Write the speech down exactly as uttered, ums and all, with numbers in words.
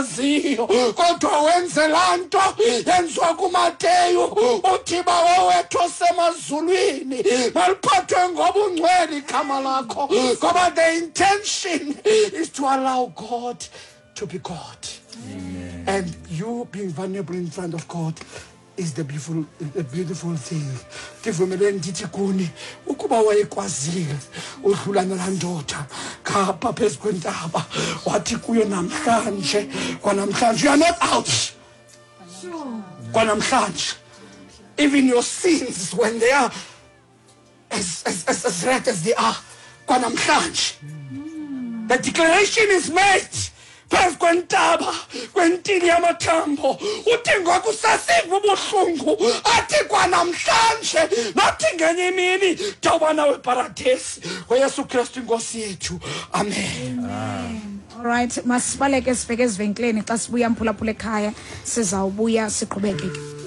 Ziyo kodwa wenze laa nto yenziwa kuMateyu, uthi: "Bawo wethu osemazulwini, maliphathwe ngobungcwele igama lakho," ngoba the intention is to allow God to be God. Amen. And you being vulnerable in front of God is the beautiful, the beautiful thing. Ndivumeleni ndithi kuni, ukuba wayekwazile udlula nalaa ndoda ngapha phezu kwentaba, wathi kuyo, "Namhlanje, kwanamhlanje, you are not out kwanamhlanje. Even your sins, when they are as, as, as, as red as they are, kwanamhlanje." The declaration is made phezu kwentaba, kwentili yamathambo. Uthi ngoku usasiva ubuhlungu, athi kwanamhlanje, nothi ngenye imini ndawuba nawe eparadesi, ngoYesu Kristu inkosi yethu, amen. Alright, masibaleke sibheke ezivenkileni. Xa sibuya, mphulaphula ekhaya, sizawubuya siqhubeke.